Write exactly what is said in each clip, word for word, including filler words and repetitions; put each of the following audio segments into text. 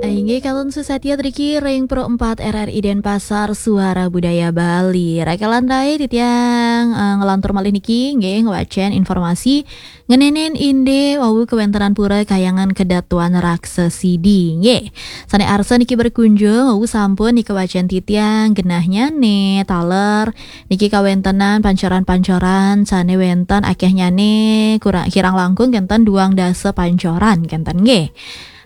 Inggih, kantun susatya driki ring Pro empat R R I Denpasar, Suara Budaya Bali. Rakelan rai, titiang, eh, nglantur malih niki, nggih, ngwacén informasi ngenénin indik wau kawéntenan Pura Kahyangan Kedatuan Raksasidi, nggih. Sané arsa niki berkunjung, wau sampun nika wacén titiang genahnyané taler niki kawéntenan pancoran-pancoran sané wénten akéhnyané kurang, kirang langkung kénten duang dasa pancoran kénten, nggih.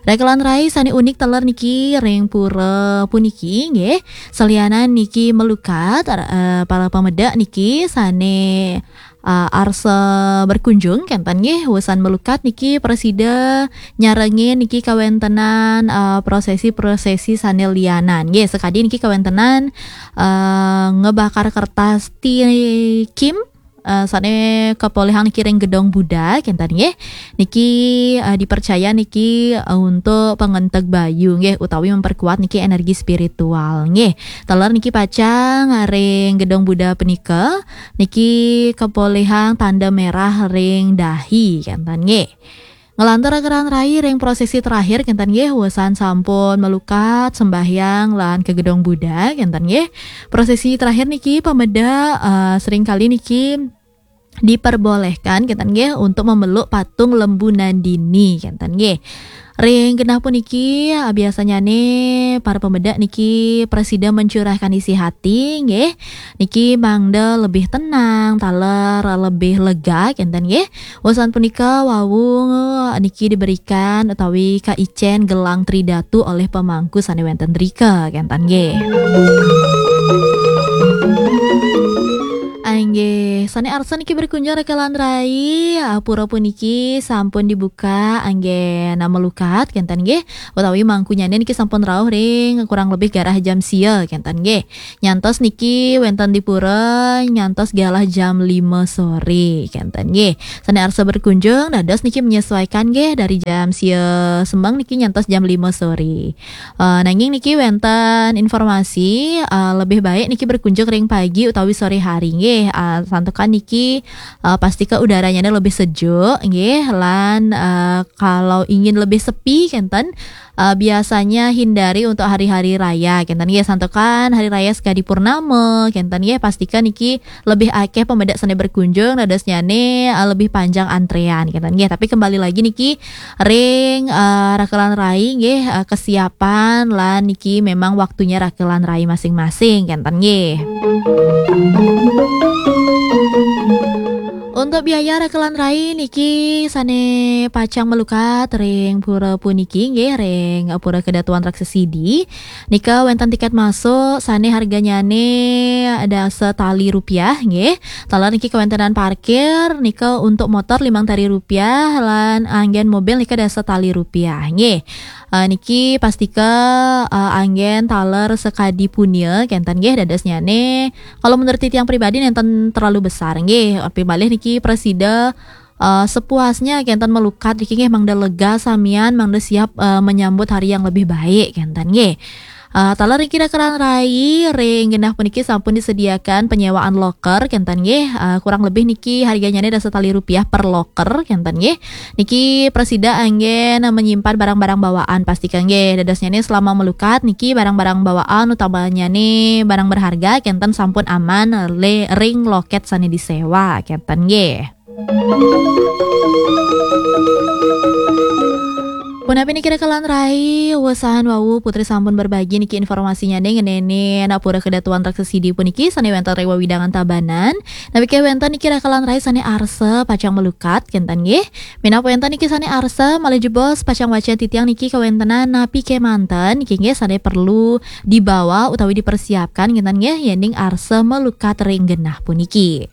Rakelan rai, sané unik taler niki ring pura puniki, nggih. Salianan niki malukat, eh, para pamedek niki sané, eh, arsa berkunjung kénten, nggih. Wusan malukat niki prasida nyarengin niki kawéntenan, eh, prosesi-prosesi sané lianan, nggih. Sakadi niki kawéntenan, eh, ngebakar kertas tikim, eh, sané kapolihang niki ring Gedong Buddha, kénten, nggih. Niki, eh, dipercaya niki, eh, untuk pangenteg bayu, nggih, utawi memperkuat niki energi spiritual, nggih. Taler niki pacang ring Gedong Buddha punika, niki kapolihang tanda merah ring dahi, kénten, nggih. Nglantur rakelan rai ring prosesi terakhir, kénten, nggih, wusan sampun malukat, sembahyang, lan ka Gedong Buddha, kénten, nggih. Prosesi terakhir niki, pamedek, eh, seringkali niki diperbolehkan, kénten, nggih, untuk memeluk patung Lembu Nandini, kénten, nggih. Ring genah puniki, eh, biasanyané para pamedek niki prasida mencurahkan isi hati, nggih. Niki mangda lebih tenang, taler lebih lega, kénten, nggih. Wusan punika wau niki diberikan utawi kaicén gelang Tridatu oleh pemangku sané wénten drika, kénten, nggih. Inggih, sané arsa niki berkunjung rakelan rai, ah, pura puniki sampun dibuka anggén malukat, kénten, nggih. Utawi mangkunyané niki sampun rauh ring kurang lebih garah jam sia, kénten, nggih. Nyantos niki wénten di pura nyantos galah jam lima sore, kénten, nggih. Sané arsa berkunjung, dados niki menyesuaikan, nggih, dari jam sia semeng niki nyantos jam lima sore. Eh, nanging niki wénten informasi, eh, lebih baik niki berkunjung ring pagi utawi sore hari, nggih. Eh, santukan niki, eh, pastika udaranya lebih sejuk, nggih, lan, eh, kalau ingin lebih sepi, kénten, eh, biasanya hindari untuk hari-hari raya, kénten, nggih, santukan hari raya sekadi purnama, kénten, nggih, pastika niki lebih akéh pamedek sané berkunjung, dadosnyané, eh, lebih panjang antrean, kénten, nggih. Tapi kembali lagi niki ring, eh, rakelan rai, nggih, eh, kesiapan lan niki memang waktunya rakelan rai masing-masing, kénten, nggih. Untuk biaya rakelan rai niki sané pacang malukat ring pura puniki, nggih, ring Pura Kedatuan Raksasidi. Nika wénten tikét masuk sané harganyané dasa tali rupiah, nggih. Taler niki kawéntenan parkir nika untuk motor limang tali rupiah lan anggén mobil nika dasa tali rupiah, nggih. Eh, niki pastika, eh, anggén taler sakadi punia, kénten, nggih, dadosnyané. Kalau menurut titiang pribadi nénten terlalu besar, nggih. Pimalih niki prasida, eh, sepuasnya kénten malukat niki, nggih, mangda lega samian, mangda siap, eh, menyambut hari yang lebih baik, kénten, nggih. Eh, taler niki rakelan rai, ring genah puniki sampun disediakan penyewaan loker, kénten, nggih. Eh, kurang lebih niki harganyané dasa tali rupiah per loker, kénten, nggih. Niki prasida anggén menyimpan barang-barang bawaan, pastika, nggih. Dadosnyané selama malukat niki barang-barang bawaan, utamanyané barang berharga, kénten, sampun aman le-, ring lokét sané disewa, kénten, nggih. Punapi niki rakelan rai, wusan wau Putri sampun berbagi niki informasinyané ngenénin Pura Kedatuan Raksasidi puniki sané wénten ring wewidangan Tabanan. Napi ké wénten niki rakelan rai sané arsa pacang malukat, kénten, nggih. Minab wénten niki sané arsa malih jebos pacang wacén titiang niki kawéntenan napi ké manten niki, nggih, sané perlu dibawa utawi dipersiapkan, kénten, nggih, yéning arsa malukat ring genah puniki.